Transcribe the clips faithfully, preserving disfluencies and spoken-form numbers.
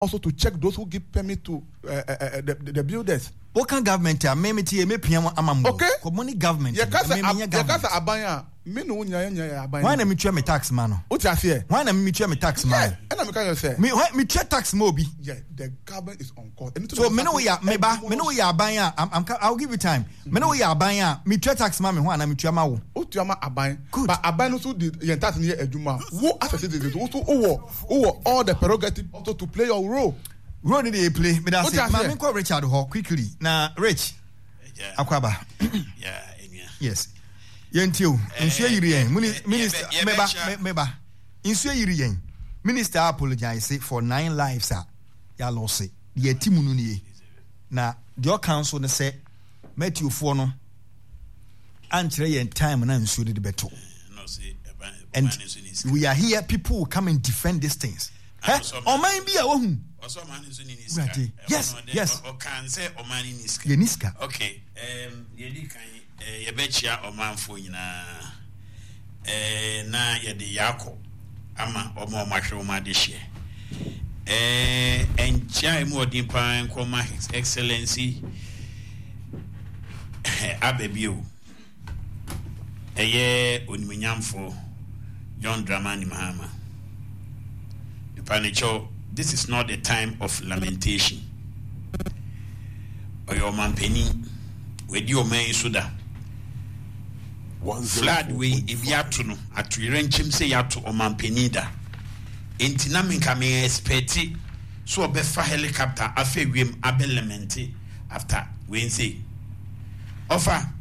also to check those who give permit to uh, uh, uh, the, the, the builders. Woka government a, me mete yɛ mepia mo ama mo. Okay. Kɔmɔ ne government. Yɛka sɛ Me menyɛ yɛka government. sɛ aban a, me ne wo nyinaa yɛn nyinaa yɛ aban. Hwan na metua me tax ma no? Wote aseɛ? Hwan na metua me tax ma Yeah, no? ɛna meka yɛ sɛ Me hwan metua tax ma obi? Yeah, the government is on course. So me ne wo yɛ me ba, me ne wo yɛ aban a, I'm, I'm, I'll give you time. Me ne wo yɛ aban a, metua tax ma me ho anaa metua ma wo? Wotua ma aban. Good. But aban no so de yɛn tax no yɛ adwuma. Wo as a citizen, wo so wowɔ wowɔ all the prerogative also to play your role. Role ni de yɛ play. Me da Wote se. aseɛ? Ma me nkɔ Richard hɔ quickly. Na Rich, akwaba. Yes. Yɛntie o. Nsuo yiri yɛn. Mini- Minister, yɛbɛ- meba, yɛbɛkyia- me- meba. Nsuo yiri yɛn. Minister apologize for nine lives a yɛalose. Deɛ ɛti mu no nie. Na deɛ ɔka nso ne sɛ Matthewfoɔ no ankyerɛ yɛn time na nsuo no de bɛto. And we are here, people will come and defend these things. Hɛ, ɔman bi a wahu. Wurade, yes, yes. Ɔkan sɛ ɔman no ni sika. Yɛni sika. Okay, um, yɛdi kan eh, yɛbɛkyia ɔmanfoɔ nyinaa eh, na yɛde yaakɔ ama ɔma ɔmo ahwɛ ɔmo adehyeɛ. Eh, ɛnkyia emu ɔden paa nkɔma His Excellency aba bio, ɛyɛ onimuonyamfoɔ John Dramani Mahama. Nipa, this is not the time of lamentation. Ɔyɛ ɔmampanin, wadi ɔman yi so da. Flood wei ebi ato no atoyerɛnkyɛm sɛ yɛato ɔmampanin da, nti na menka me expect so ɔbɛfa helicopter afa wiem abɛ lament after wei nse. Ɔfa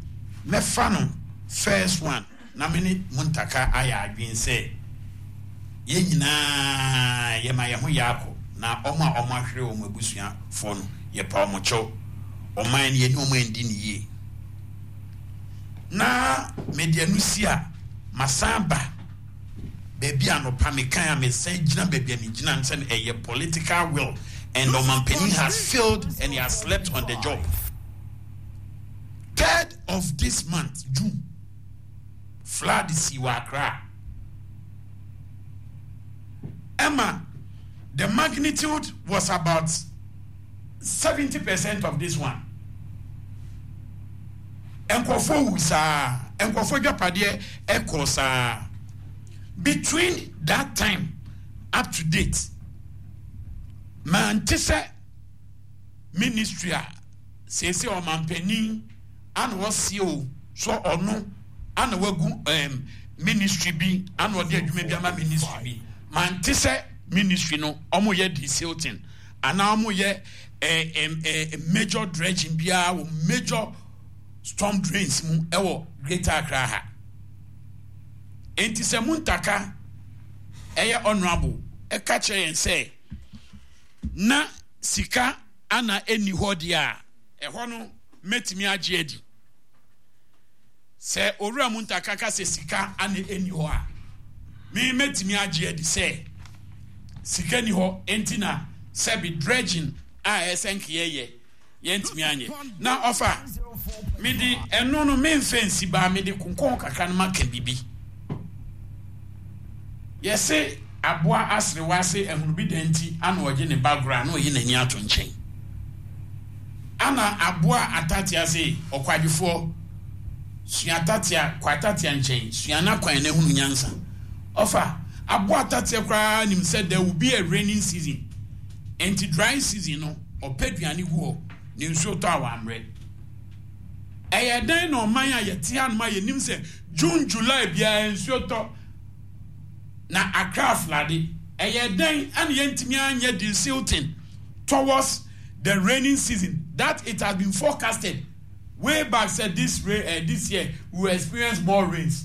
mɛfa no first one na me ne Muntaka ayɛ adwene sɛ yɛn nyinaa yɛma yɛn ho yɛ akɔ na ɔmo a ɔmo ahwere wɔn abusuafoɔ no, yɛpa ɔmo kyɛw. Ɔman no, yɛne ɔmo andi ne yie na mede ano si a masan ba baabi a nɔpa mekan a mesan gyina baabi a megyina no sɛ ɛyɛ political will and ɔmampanin has failed and he has slept on the job. Third of this month, June, flood si wɔ Accra. Emma, the magnitude was about seventy percent of this one. Nkurɔfoɔ wu saa, nkurɔfoɔ dwapadeɛ ɛkɔ saa. Between that time up to date, mante sɛ ministry a seesei ɔmampanin ana ɔsie o so ɔno ana wagu um, ministry bi ana ɔde adwuma bi ama ministry bi, mante sɛ ministry no ɔmo yɛ desilting anaa ɔmo yɛ eh, eh, eh, major dredging biara wɔ major storm drains mu ɛwɔ Greater Accra ha. Nti sɛ Muntaka, ɛyɛ honourable, ɛka kyerɛ yɛn sɛ na sika ana ɛnni hɔ deɛ a, ɛhɔ no mɛtumi agye adi sɛ Owura Muntaka ka sɛ sika ana ɛnni hɔ a, me mɛtumi agye adi sɛ sika ni hɔ nti na sɛbi dredging a ɛsɛ nkeyɛyɛ yɛntumi anyɛ. Na ɔfa mede ɛno no memfɛ nsi baa mede konkɔn kakra no maka bibi. Yɛse aboa aserewa ase ahunu bi da nti ana ɔgye ne ba gorɔ a na ɔyi n'ani ato nkyɛn. Ana aboa atatea se ɔkwadwofoɔ sua atatea kɔ atatea nkyɛn sua n'akwan na ehunu nyansa. Ɔfa aboa atatea koraa nim sɛ there will be a raining season, nti dry season no ɔpɛ aduane gu hɔ ne nsuo tɔ a wammerɛ. Ɛyɛ dɛn na ɔman a yɛte hanom a yɛnim sɛ June, July biara nsuo tɔ na Accra flood, ɛyɛ dɛn ɛna yɛntumi anyɛ desilting towards the raining season that it has been forecasted way back said this rain uh, this year we will experience more rains?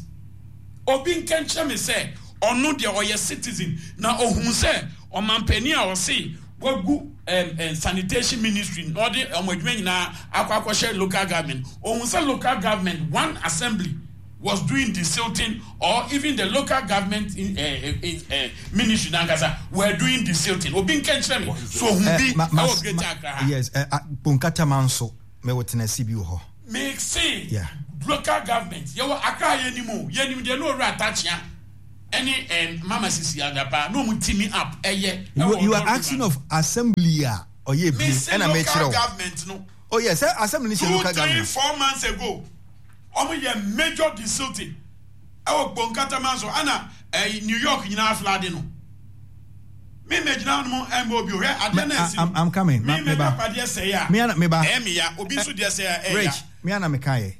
Obi nkɛnkyerɛ me sɛ ɔno deɛ ɔyɛ citizen na ohun sɛ ɔmampanin a ɔse wagu um, um, sanitation ministry na ɔde ɔmo adwuma nyinaa akɔ akɔhyɛ local government, ohun sɛ local government one assembly was doing desilting or even the local government in, uh, in, uh, ministry nankasa were doing desilting? Obi nkɛnkyerɛ me so ohun bi ɛwɔ Greater Accra ha. Yes, uh, uh, Bonkatama nso mɛwɔ tenasi bi wɔ hɔ. Make say Yeah. local government yɛwɔ Accra, yɛnim o, yɛnim deɛ na Owura Atakyea Ɛne ɛɛ Mama Sisi Adapa na ɔmo team up ɛyɛ. You, you are asking of assembly a ɔyɛ bi ɛna mɛkyerɛ o. Local government no. Oh yes, assembly ni sɛ local government. Two, three, four months ago, ɔmo yɛ major desilting ɛwɔ Kpone so ɛna ɛɛ New York nyinaa flood no. Mi mɛ gyina hɔ nom ɛmbɛ obi o hwɛ adeɛ na esi. I'm coming. Mi mɛ dapadeɛ sɛ ya. Mi ana mi ba. Ɛyɛ mi ya, obi nso deɛ sɛ ya ɛyɛ ya. Rich, mi ana mi ka yɛ.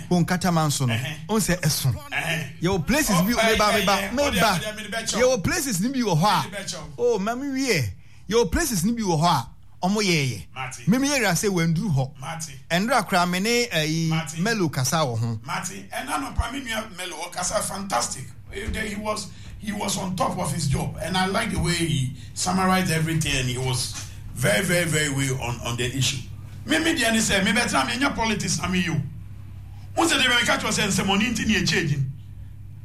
Kpone Katamanso no, o sɛ ɛso. Yɛwɔ places bi, mi ba mi ba mi ba. Yɛwɔ places ni bi wɔ hɔ a, oh ma mi wie. Yɛwɔ places ni bi wɔ hɔ a, ɔmo yɛɛyɛ. Mi mi yɛ sɛ wɛnduru hɔ. Ɛndura kora mi ne ɛyi Melo kasa wɔ ho. Mate, ɛna no pa mi nua Melo ɔkasa fantastic. He was he was on top of his job, and I like the way he summarized everything, and he was very, very, very well on, on the issue. Me me deɛ ne sɛ me bɛtena me nya politics na me yi o. N sɛ de bɛ ka kyerɛ sɛ nsɛmɔni nti ne ɛkyɛ gyin.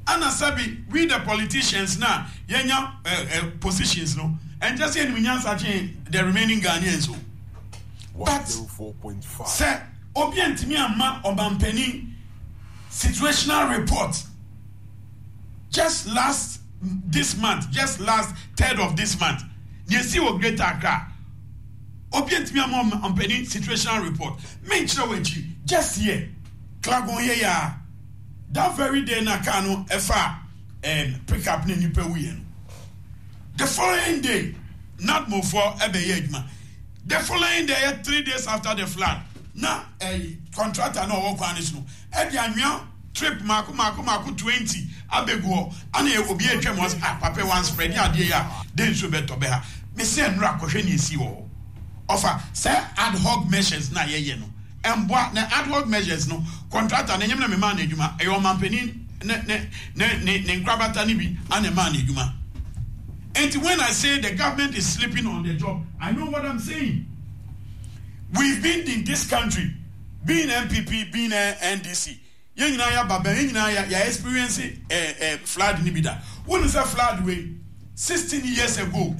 Ana sɛbi we the politicians na yɛnya uh, uh, positions no, ɛnkyɛ sɛ yɛnim nyansa kyen the remaining Ghanaians o. But sɛ obi ntumi amma ɔmampanin situational report just last this month, just last third of this month, nea esi wɔ Greater Accra, obi ntumi ama ɔmpanin situational report. Menkyerɛ wɔ akyi, just here Klagon yɛ ya, that very day na car no ɛfa um, pick up ne nipa wuyɛ no, the following day NADMO foɔ ɛbɛyɛ adwuma. The following day, yɛ three days after the flood, na ɛyi contractor na ɔwɔ kwan ne so no ɛde anwea trip mako mako mako twenty abegu hɔ, ana obi atwa mu ɔsɛ, "Ah, papa, one spread adeɛ yi a de nsuo bɛtɔ bɛ ha." Mesi nnura akɔhwɛ ne esi wɔ hɔ. Ɔfa sɛ ad hoc measures na yɛyɛ no ɛmboa, na ad hoc measures no, contractor na enyim na mema no adwuma, ɛyɛ ɔmampanin ne ne ne ne ne nkrabata ne bi ana ɛmaa no adwuma. Nti when I say the government is sleeping on the job, I know what I'm saying. We've been in this country, being N P P, being N D C, yɛn nyinaa yɛ aba bɛn, yɛn nyinaa yɛ yɛ experience ɛɛ ɛɛ flood ni bi da. Wɔn sɛ flood wei sixteen years ago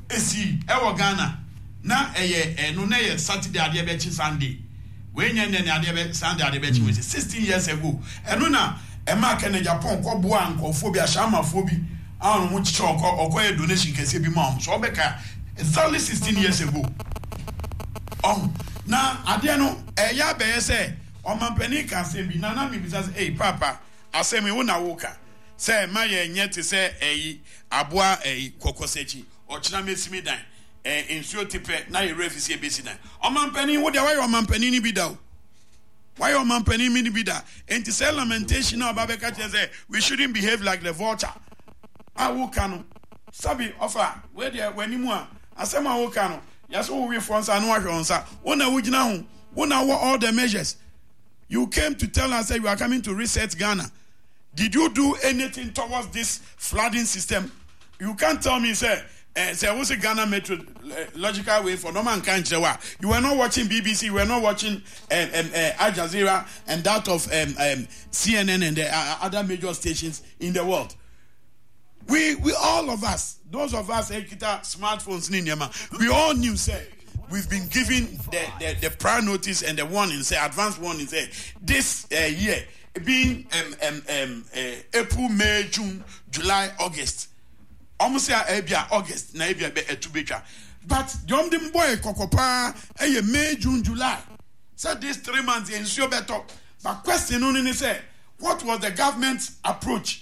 esi ɛwɔ Ghana na ɛyɛ ɛno na ɛyɛ Saturday adeɛ bɛkyi Sunday wei nyɛ nnɛ ne adeɛ bɛ Sunday adeɛ bɛkyi wei sɛ sixteen years ago. Ɛno na ɛmaa Kennedy Agyapong kɔ boa nkɔfoɔ bi, ahyɛnmafoɔ bi a wɔn ho kyekyɛ, ɔkɔ ɔkɔ yɛ donation kɛseɛ bi ma wɔn so ɔbɛka exactly sixteen years ago. Ɔho na adeɛ no ɛyɛ abɛyɛ sɛ ɔmampanin ka asɛm bi na na mi bisa sɛ, "Ɛy papa, asɛm yi wo na wo ka sɛ ɛma yɛ nyɛ te sɛ ɛyi aboa ɛyi kɔkɔsɛkyi, ɔkyena mesi mi dan, ɛɛ nsuo te pɛ na yɛ refi si ebesi dan." Ɔmampanin, wo deɛ wayɛ ɔmampanin ni bi da o, wayɛ ɔmampanin mi ni bi da, nti sɛ lamentation na ɔba bɛka kyerɛ sɛ we shouldn't behave like the vulture a woka no, sabi ɔfa wei deɛ w'anim a asɛm a woka no yɛsɛ wo wefoɔ nsa na wahwɛ wo nsa. Wo na wogyina ho, wo na wɔ all the measures. You came to tell us that you are coming to reset Ghana. Did you do anything towards this flooding system? You can't tell me say eh, say what's Ghana Metro uh, logical way for normal country. You were not watching B B C, you were not watching um, um, uh, Al Jazeera and that of um, um, C N N and the uh, other major stations in the world. We, we all of us, those of us ekita smartphones ni nneɛma, we all knew say we've been given the, the, the prior notice and the warning, say advance warning, say this uh, year being um, um, um, uh, April, May, June, July, August. Almost say ebia August na ebia be etu betwa. But the ɔmo de mbɔ yɛ kɔkɔ paa ɛyɛ May, June, July. Say these three months nsuo bɛtɔ. But question no ni sɛ, what was the government's approach?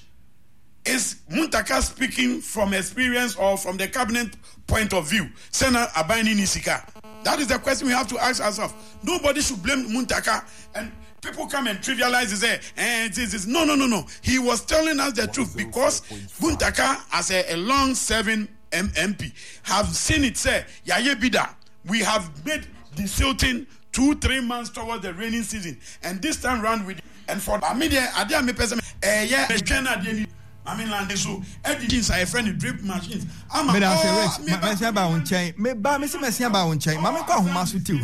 Is Muntaka speaking from experience or from the cabinet point of view? Sena aban ni sika. That is the question we have to ask ourselves. Nobody should blame Muntaka, and people come and trivialize and say, eh, this, this. No, no, no, no. He was telling us the truth because Muntaka, as a, a long-serving M P, have seen it say, Yaye Bida, we have made desilting two, three months towards the rainy season. And this time round, we and for media, adeɛ a mepɛ sɛ ɛyɛ twɛn adeɛ ni maame land so ɛdi jeans a yɛfrɛ no drip machines ama. Meda ase, Rich. Mɛsi aba wo nkyɛn, meba mesi mɛsi aba wo nkyɛn, maame kɔ ahoma so tiw.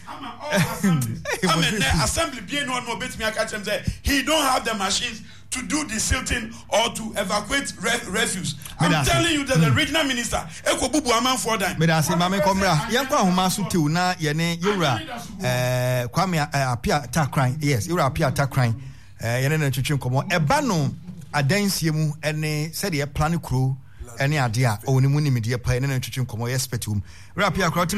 Ama all assemblies, ama nnɛ assembly bie no ɔno obetumi aka kyerɛ m sɛ he don't have the machines to do desilting or to evacuate re refuse. I'm telling you that the regional minister eko bubu amanfoɔ dan. Meda ase, maame kɔ mmra. Yɛnkɔ ahoma so tiw na yɛne yɛwura ɛɛ Kwame Apia Takran, yes, yɛwura Apia Takran, ɛɛ yɛne ne twetwe nkɔmɔ ɛba no. Adansie mu ne sɛdeɛ ɛplane kuro ne adeɛ a ɔwɔ ne mu nimdeɛ pa, ɛne no ntwetwe nkɔmmɔ, yɛ expert wɔ mu. Wura Appiah koraa wotumi